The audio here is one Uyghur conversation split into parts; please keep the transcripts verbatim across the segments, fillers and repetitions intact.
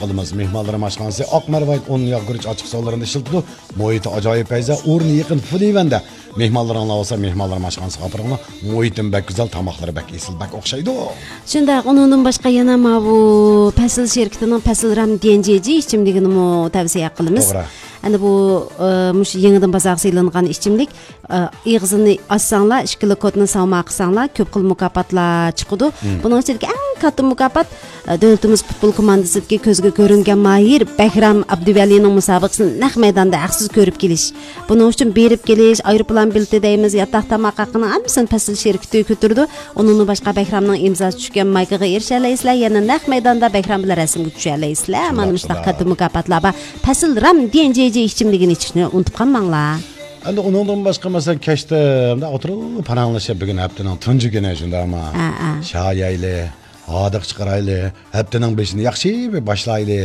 قىلىمىز. مېھمانلىرىم ئاشخانىسى ئاق مەرۋايىت ئۇن، ياغ گۈرۈچ ئاچچىقسۇلىرىنى ئىشلىتىدۇ. مۇھىتى ئاجايىپ پەيزە، ئورنى يېقىن، فۇلىۋەندە. مېھمانلىرىڭلار بولسا مېھمانلىرىم ئاشخانىسىغا ئاپىرىڭلار. مۇھىتىمۇ بەك گۈزەل، تاماقلىرى بەك ئېسىل، بەك ئوخشايدۇ. شۇنداق، ئۇنىڭدىن باشقا يەنە ماۋۇ پەسىل شىركىتىنىڭ پەسىل رام ديەنجيېجي ئىچىملىكىنىمۇ تەۋسىيە قىلىمىز. توغرا. ئەنە بۇ، ئە، مۇشۇ يېڭىدىن بازارغا سېلىنغان ئىچىملىك، ئە، ئېغىزىنى ئاچساڭلار، ئىككىلا كودنى ساۋما قىلساڭلار، كۆپ خىل مۇكاپاتلار چىقىدۇ. مم. بۇنىڭ ئىچىدىكى ئەڭ كاتتا مۇكاپات، ئە، دۆلىتىمىز پۇتبول كوماندىسىدىكى كۆزگە كۆرۈنگەن ماھىر بەھرام ئابدۇۋەلىنىڭ مۇسابىقىسىنى نەق مەيداندا ھەقسىز كۆرۈپ كېلىش. بۇنىڭ ئۈچۈن بېرىپ كېلىش، ئايروپىلان بېلىتى دەيمىز، ياتاق تاماق ھەققىنىڭ ھەممىسىنى پەسىل شىركىتى كۆتۈرىدۇ. ئۇنىڭدىن باشقا بەھرامنىڭ ئىمزاسى چۈشكەن مايكىغا ئېرىشەلەيسىلەر، يەنە نەق مەيداندا بەھرام بىلەن رەسىمگە چۈشەلەيسىلەر. مانا شۇنداق، مۇشۇنداق شۇنداق. كاتتا مۇكاپاتلار بار. پەسىل رام ديەنجيېجي ئىچىملىكىنى ئىچىشنى ئۇنتۇپ قالماڭلار. ئەمدى ئۇنىڭدىن باشقا، مەسىلەن، كەچتە مۇنداق ئولتۇرۇپ پاراڭلىشىپ، بۈگۈن ھەپتىنىڭ تۇنجى كۈنى، شۇنداقمۇ؟ ھە، ھە. شايايلى، ھاردۇق چىقىرايلى، ھەپتىنىڭ بېشىنى ياخشى بىر باشلايلى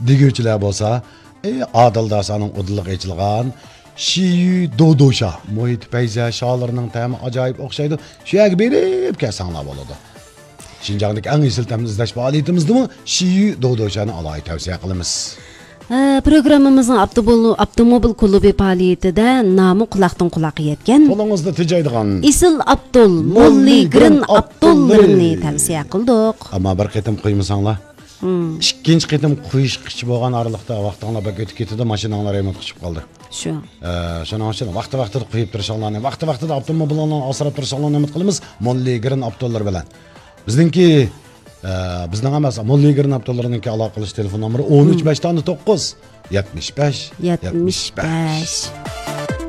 دېگۈچىلەر بولسا، ئى، ئادىل داسانىڭ ئۇدۇلىغا ئېچىلغان شىيۈ دودوشا، مۇھىتى پەيزە، شالىرىنىڭ تەمى ئاجايىپ ئوخشايدۇ. شۇ يەرگە بېرىپ كەلسەڭلار بولىدۇ. شىنجاڭدىكى ئەڭ ئېسىل تەمنى ئىزدەش پائالىيىتىمىزدىمۇ شىيۈ دودوشانى ئالاھىدە تەۋسىيە قىلىمىز. ھە، پروگراممىمىزنىڭ ئاپتوموبىل، ئاپتوموبىل كۇلۇبى پائالىيىتىدە نامى قۇلاقتىن قۇلاققا يەتكەن قولىڭىزدا تېجەيدىغان ئېسىل ئاپتول، موللىگرىن موللىگرىن ئاپتوللىرىنى ئاپتوللىرى. تەۋسىيە قىلدۇق. ئەمما بىر قېتىم قۇيمىساڭلار، مم. ئىككىنچى قېتىم قۇيۇشقىچە بولغان ئارىلىقتا ۋاقتىڭلار بەك ئۆتۈپ كېتىدۇ، ماشىناڭلار رېمونتقا چىقىپ قالدى. شۇ. ئە، شۇنىڭ ئۈچۈن ۋاقتى ۋاقتىدا قۇيۇپ تۇرۇشۇڭلارنى، ۋاقتى ۋاقتىدا ئاپتوموبىلىڭلارنى ئاسراپ تۇرۇشۇڭلارنى ئۈمىد قىلىمىز. موللىگرىن ئاپتوللىرى بىلەن. بىزنىڭكى، ئە، بىزنىڭ ئەمەس، موللىگرىن ئاپتوللىرىنىڭكى ئالاقە قىلىش تېلېفون نومۇرى ئون ئۈچ، مم. بەش دانە توققۇز، يەتمىش بەش، يەتمىش بەش. يەتمىش بەش.